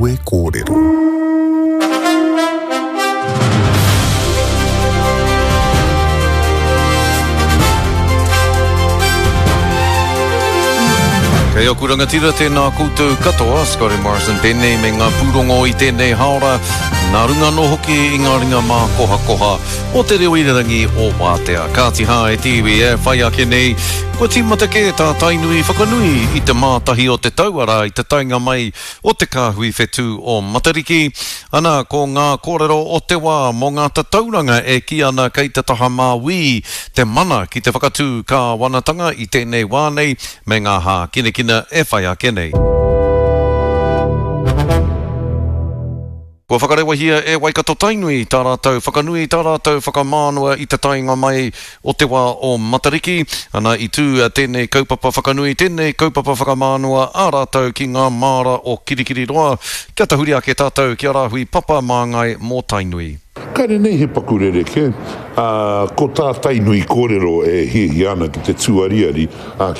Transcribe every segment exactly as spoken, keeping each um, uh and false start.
Kawe Kōrero. Kei aku rangatira tēnā koutou katoa, Scotty Morrison tēnei me ngā pūrongo i tēnei haora, nā runga anō hoki i ngā ringa mākohakoha o te reo irirangi o Wātea. Kāti hā e te iwi e whai ake nei, kua tīmata kē tā Tainui whakanui i te mātahi o te tau, arā i te taenga mai o te kāhui whetū o Matariki. Ana, ko ngā kōrero o te wā mō ngā tatauranga e kī ana kei te taha māui te mana ki te whakatū kāwanatanga i tēnei wā nei me ngā hākinakina e whai ake nei. Kua whakarewahia e Waikato-Tainui tā rātou whakanui, tā rātou whakamānawa i te taenga mai o te wā o Matariki. Ana i tū tēnei kaupapa whakanui, tēnei kaupapa whakamānawa a rātou ki ngā māra o Kirikiriroa. Kia tahuri ake tātou ki a Rāhui Papa Māngai mō Tainui. Kāre nei he paku rerekē, ā, ko tā Tainui kōrero e hiahia ana ki te tūariari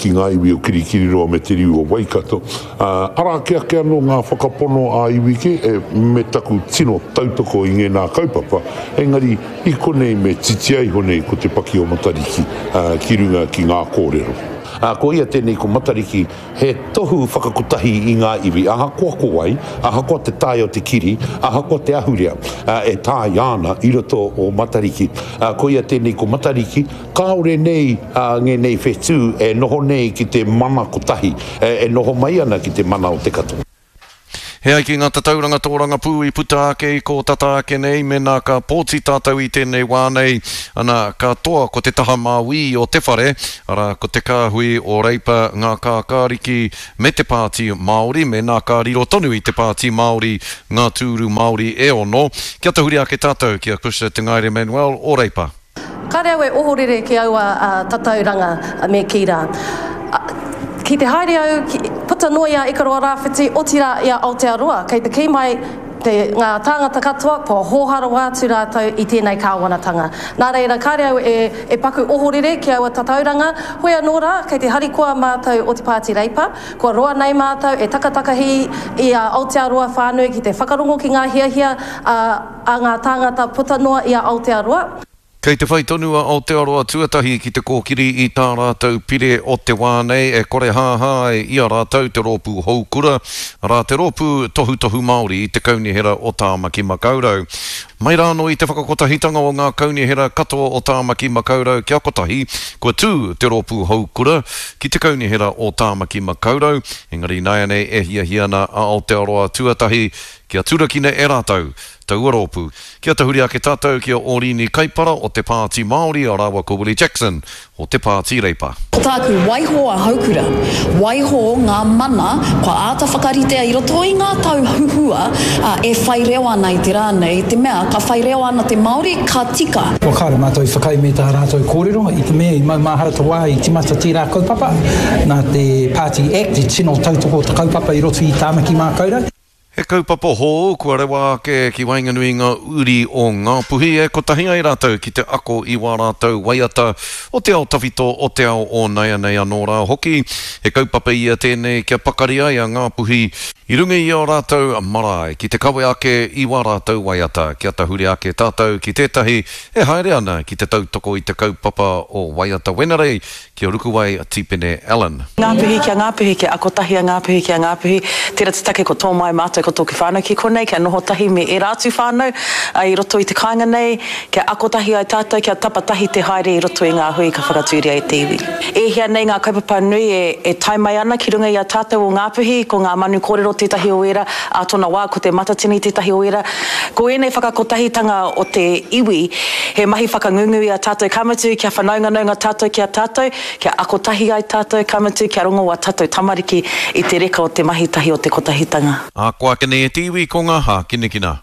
ki ngā iwi o Kirikiriroa me te riu o Waikato, ā, arā ake ake anō ngā whakapono ā-iwi kē, e, me taku tino tautoko i ngēnā kaupapa, engari i konei me titia iho nei ko te paki o Matariki, ā, ki runga ki ngā kōrero. Ā, ko ia tēnei ko Matariki, he tohu whakakotahi i ngā iwi, ahakoa ko wai, ahakoa te tae o te kiri, ahakoa te ahurea, ā, e taea ana i roto o Matariki. Ā, ko ia tēnei ko Matariki, kāore nei, ā, ngēnei whetū e noho nei ki te mana kotahi, e, e noho mai ana ki te mana o te katoa. He ai ki ngā tatauranga tōrangapū i puta ake i kō tata ake nei, mēnā ka pōti tātou i tēnei wā nei, ana, ka toa ko te taha māuī o te whare, arā, ko te kāhui o Reipa, Ngā Kākāriki me te Pāti Māori, mēnā ka riro tonu i te Pāti Māori ngā tūru Māori e ono. Kia tahuri ake tātou ki a Cushla Te Ngaere Manuel o Reipa. Kāre au e ohorere ki aua tatauranga me kī rā. Ki te haere au, puta noa i a Ikaroa Rāwhiti, otirā i a Aotearoa, kei te kī mai te, ngā tāngata katoa kua hōhā rawa atu rātou i tēnei kāwanatanga. Nā reira, kāre au e, e paku ohorere ki aua tatauranga, hoi anō rā, kei te harikoa mātou o te Pāti Reipa, kua roa nei mātou e takatakahi i a Aotearoa whānui ki te whakarongo ki ngā hiahia a, a ngā tāngata puta noa i a Aotearoa. Kei te whai tonu a Aotearoa Tuatahi ki te kōkiri i tā rātou pire o te wā nei e korehāhā ai i a rātou te rōpū Houkura, arā te rōpū tohutohu Māori i te Kaunihera o Tāmaki Makaurau. Mai rā anō i te whakakotahitanga o ngā kaunihera katoa o Tāmaki Makaurau kia kotahi, kua tū te rōpū Houkura ki te Kaunihera o Tāmaki Makaurau, engari ināianei e hiahia ana a Aotearoa Tuatahi kia turakina e rātou taua rōpū. Kia tahuri ake tātou ki a Ōrini Kaipara o te Pāti Māori rāua ko Willie Jackson o te Pāti Reipa. Ko tāku, waiho a Houkura, waiho ngā mana kua āta whakaritea i roto i ngā tau huhua e whai reo ana i te rā nei, i te mea ka whai reo ana te Māori, ka tika. Kua kāore mātou i whakaae me tā rātou kōrero, i te mea i maumahara te wā i timata tērā kaupapa, nā te Pāti Act i tino tautoko te kaupapa i roto i Tāmaki Mākaurau. He kaupapa hou kua rewa ake ki waenganui i ngā uri o Ngāpuhi e kotahi ai rātou ki te ako i wā rātou waiata o te ao tawhito, o te ao o naianei anō rā hoki. He kaupapa ia tēnei kia pakari ai a Ngāpuhi i runga i ō rātou marae ki te kawe ake i wā rātou waiata. Kia tahuri ake tātou ki tētahi e haere ana ki te tautoko i te kaupapa o Waiata Wenerei ki a Rukuwai Tipene Allen. Ngāpuhi kia Ngāpuhi, kia ako tahi a Ngāpuhi ki a Ngāpuhi. Tērā te take ko tō mai mātou ko tōku whānau ki konei, kia noho tahi me ērā atu whānau i roto i te kāinga nei, kia ako tahi ai tātou, kia tapa tahi te haere i roto i ngā hui ka whakatūria e te iwi. E hia nei ngā kaupapa nui e, e tae mai ana ki runga i a tātou o Ngāpuhi, ko ngā manu kōrero tētahi o ērā, ā tōna wā ko te Matatini tētahi o ērā. Ko ēnei whakakotahitanga o te iwi, he mahi whakangungu i a tātou, ka mutu kia whanaunganaunga tātou ki a tātou, kia ako tahi ai tātou, ka mutu kia rongo ā tātou tamariki i te reka o te mahi tahi o te kotahitanga. Ā, ko ake nei e te iwi ko ngā hākinakina.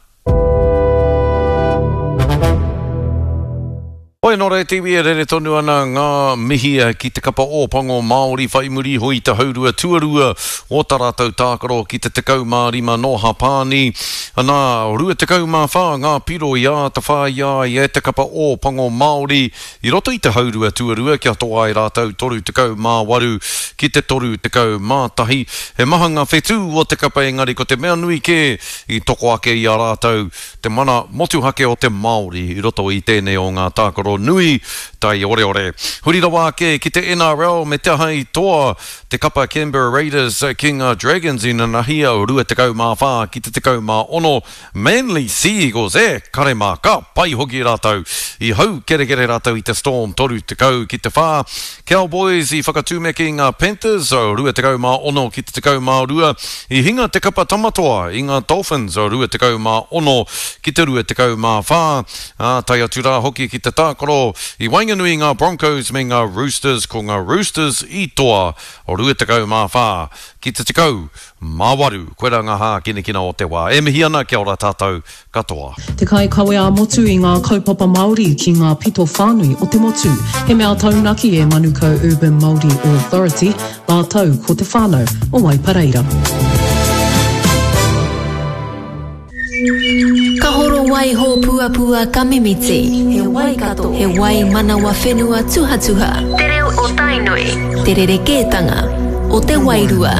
Hoi nō reira te iwi e rere tonu ana ngā mihi ki te kapa Ōpango Māori whai muri iho i te haurua tuarua o tā rātou tākaro ki te tekau mā rima nō Hapāni. Anā, rua tekau mā whā ngā piro i āta whāia ai e te kapa Ōpango Māori i roto i te haurua tuarua kia toa ai rātou toru tekau mā waru ki te toru tekau mā tahi. He maha ngā whetū o te kapa engari ko te mea nui kē i toko ake i a rātou te mana motuhake o te Māori i roto i tēnei o ngā tākaro nui taioreore. Huri rawa ake ki te N R L me te aha i toa te kapa Canberra Raiders ki ngā Dragons inanahi rua tekau mā whā ki te tekau mā ono. Manly Sea Eagles, e kare mā, ka pai hoki rātou. I hau kerekere rātou i te Storm toru tekau ki te whā. Cowboys i whakatūmeke i ngā Panthers rua tekau mā ono ki te tekau mā rua. I hinga te kapa Tamatoa i ngā Dolphins rua tekau mā ono ki te rua tekau mā whā. Ā, tae atu rā hoki ki te tākaro i waenganui i ngā Broncos me ngā Roosters, ko ngā Roosters i toa rua tekau mā whā ki te tekau mā waru. Koirā ngā hākinakina o te wā. E mihi ana, kia ora tātou katoa. Te kaikawe ā-motu i ngā kaupapa Māori ki ngā pito whānui o te motu. He mea taunaki e Manukau Urban Māori Authority, rātou ko te whānau o Waipareira. Ka horo wai hōpuapua ka mimiti. He Waikato. He wai manawa whenua tuhatuha. Te reo o Tainui. Te rerekētanga o te wairua.